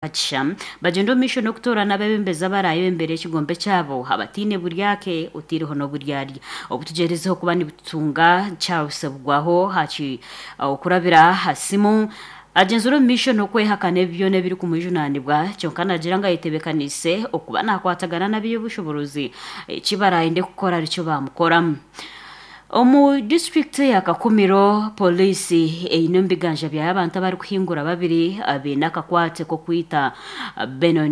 Akisha bagyenda omu maisho n'okutoorana abeebembezi abaraayebembere ekigombe kyabo abataine buryake otaireho n'oburyarya. Obu tugyerezeho kuba nitutunga Charles Bugwaho okurabira aha simu agyenzire omu maisho n'okwehakana ebi byona ebirikumwijunaanibwa kyonka naagira ngu ayetebeekaniise okuba naakwatagana n'ab'eby'obushoboorozi eki baraayende kukora nikyo baamukoramu. Omu disiturikiti ya Kakumiro, Pooriisi eine omu biganja byayo abantu abarikuhingura babiri abaine akakwate k'okwita Benon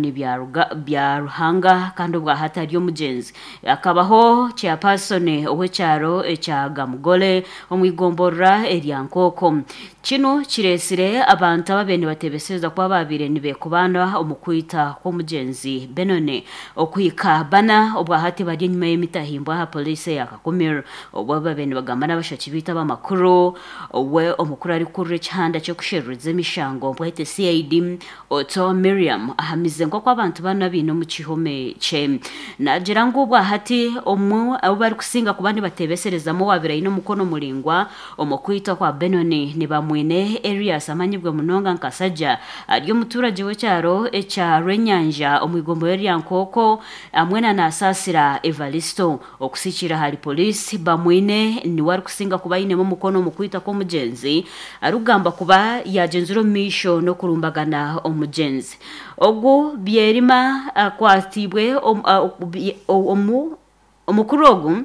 Byaruhanga kandi obwahati ari omugyenzi. Akabaho Chairperson ow'ekyaro ekya Gamugore omu igomborora erya Nkooko. Kinu kireetsire abantu ababaire nibatebesereza kuba baabaire nibeekobaana omu kwita kw'omugyenzi Benon okuhika bana obwahati bari enyima y'emitahimbwa aha pooriisi eya Kakumiro. Obu babaire nibagamba n'abashaki baitu ab'amakuru, we omukuru arikukurira ekihanda ky'okusheruriza emishango Bwete CID, Otto Miriam ahamize nk'oku abantu banu abaine omu kihome kye. Naagira ngu obwahati omwe abu barikusinga kuba nibateebeserezamu owaabaire aine omukono muraingwa omu kwitwa kwa Benoni ni Bamwine Erias amanyibwe munonga nka Sajja ari omuturagye w'ekyaro ekya Rwenyanja omu igomborora erya Nkooko hamwe na Nasaasira Evaristo. Okusikiira ahari Poliisi, Bamwine niwe arikusinga kuba ainemu omukono omu kwitwa kw'omugyenzi arikugambwa kuba yaagyenzire omu maisho n'okurumbagana omugyenzi. Ogu Byerima akwatiibwe omukuru ogu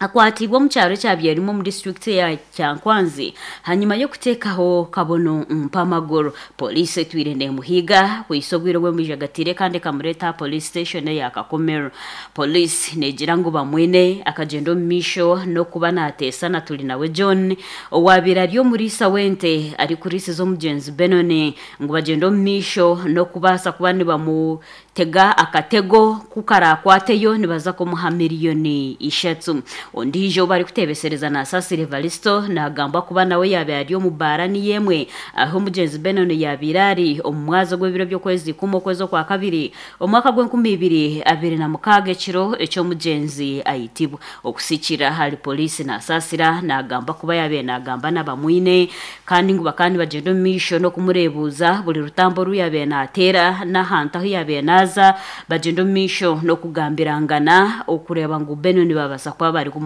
akwatiibwe omu kyaro ekya Byerima omu disiturikiti eya Kyankwanzi ahanyima y'okuteekaho kabono mpamaguru. Poliisi etwire neemuhiiga kuhitsya obwire obu emwijagatiire kandi ekamureeta aha Poliisi station eya Kakumiro. Poliisi neegira ngu Bamwine akagyenda omu maisho n'okuba naateesa na Turinawe John owaabaire ari omuriisa w'ente arikuriisiza omugyenzi Benoni ngu bagyende omu maisho n'okubaasa kuba nibamutega akatego ku karaakwateyo nibaza kumuha miriyoni ishatu. Ondiijo ou barikuteebesereza Nasasira Evaristo naagambwa kuba nawe yaabaire ari omu baara niyo emwe ahu omugyenzi Benoni yaabaire ari omu mwazi ogw'ebiro by'okwezi kumwe okwezi okwakabiri Omwaka gw'enkumi ibiri 26 ekiro eky'omugyenzi aitibwa. Okusikira ahari Poliisi Nasasira nagamba kuba yabaire nagamba na Bamwine kandi ngu bakaba nibagyenda omu maisho n'okumureebuuza buri rutambi oru yabaire nateera n'ahantu ahu yabaire naaza bagyenda omu maisho n'okugambirangana okureeba ngu Benoni babaasa kuba barikumukwata.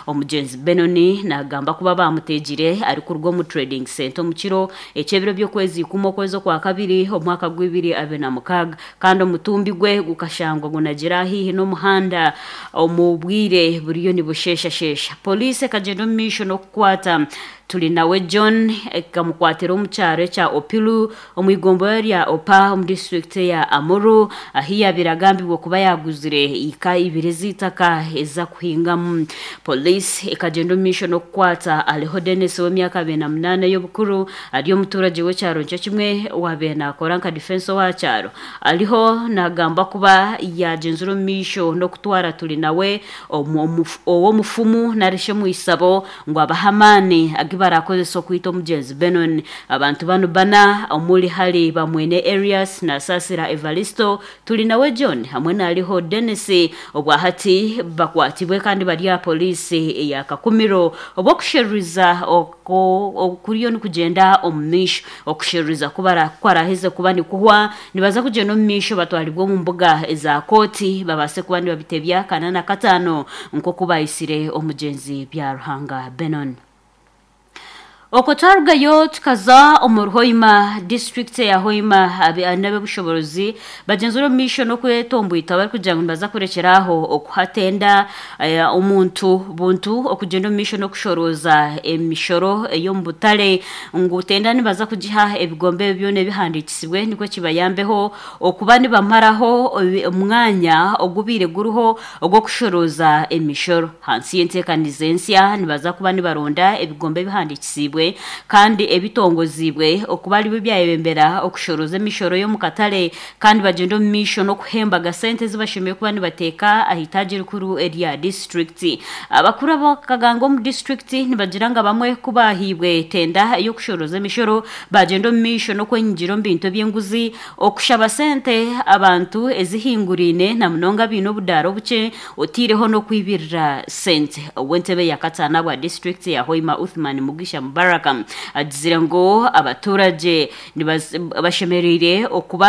Omugyenzi Benoni nagamba kuba baamuteegire arikuruga omu Trading Centre omu kiro Eky'ebiro by'okwezi ikumwe okwezi okwakabiri omwaka gw'ibiri 26, kandi omutumbi gwe gukashangwa gunagire ahaihi n'omuhanda omu bwire buriyo nibusheeshasheesha. Poliisi ekagyenda omu maisho n'okukwata Turinawe John ekamukwatira omu kyaro ekya Opilu omu igomborora rya Opa omu disiturikiti eya Amuru ahi yaabaire agambirwe kuba yaaguzire eka ibiri ez'eitaka ez'akuhingamu. Poliisi ekagyenda omu maisho n'okukwata Aleho Denis ow'emyaka 28 ey'obukuru ari omuturagye w'ekyaro nikyo kimwe owaabaire naakora nka difensi owa kyaro. Aliho naagambwa kuba yaagyenzire omu maisho n'okutwara Turinawe ow'omufumu narishi omwisabo ngu abahe amaani agu baraakozese okwita omugyenzi Benon. Abantu banu bana omuri hari Bamwine Erias, Nasasira Evaristo, Turinawe John hamwe na Aliho Denis obwahati bakwatibwe kandi bari aha Poliisi eya Kakumiro obu okusheruriza okuriyo nikugyenda omu maisho. Okusheruriza kukwaraheze kuba nikuhwa, nibaza kugyenda omu maisho batwaribwe omu mbuga eza kooti babaase kuba nibabitebya kana na kataano nk'oku baitsire omugyenzi Byaruhanga Benon. Okwo twarugayo tukaza omuri Hoima, disiturikiti eya Hoima n'ab'obushoboorozi bagyenzire omu maisho n'okwetomboita barikugira ngu nibaza kurekyera aho okuha tenda omuntu buntu okugyenda omu maisho n'okushorooza emishoro ey'omu butare ngu tenda nibaza kugiha ebigombe ebi byona ebihandiikisibwe nikwo kibayambeho okuba nibamaraho omwanya ogubaire guriho ogw'okushorooza emishoro. Ahansi y'enteekaniza ensya, nibaza kuba nibaronda ebigombe ebihandiikisiibwe kandi ebitongoziibwe okuba aribyo byayebembera okushorooza emishoro y'omu katare kandi bagyende omu maisho n'okuhembaga sente ezi bashemereire kuba nibateeka aha itaagi erikuru erya disiturikiti. Abakuru ab'akaganga omu disiturikiti nibagira ngu abamwe ku baahaibwe tenda ey'okushorooza emishoro baagyenda omu maisho n'okwenyigira omu bintu eby'enguzi Okushaba sente abantu ezihinguraine na munonga abaine obudaara obukye otaireho n'okwibirira sente. Ow'entebe ya kataano ahabwa disiturikiti ya Hoima Uthman Mugisha Mubarak. Mubaraka agizire ngu abaturage bashemereire okuba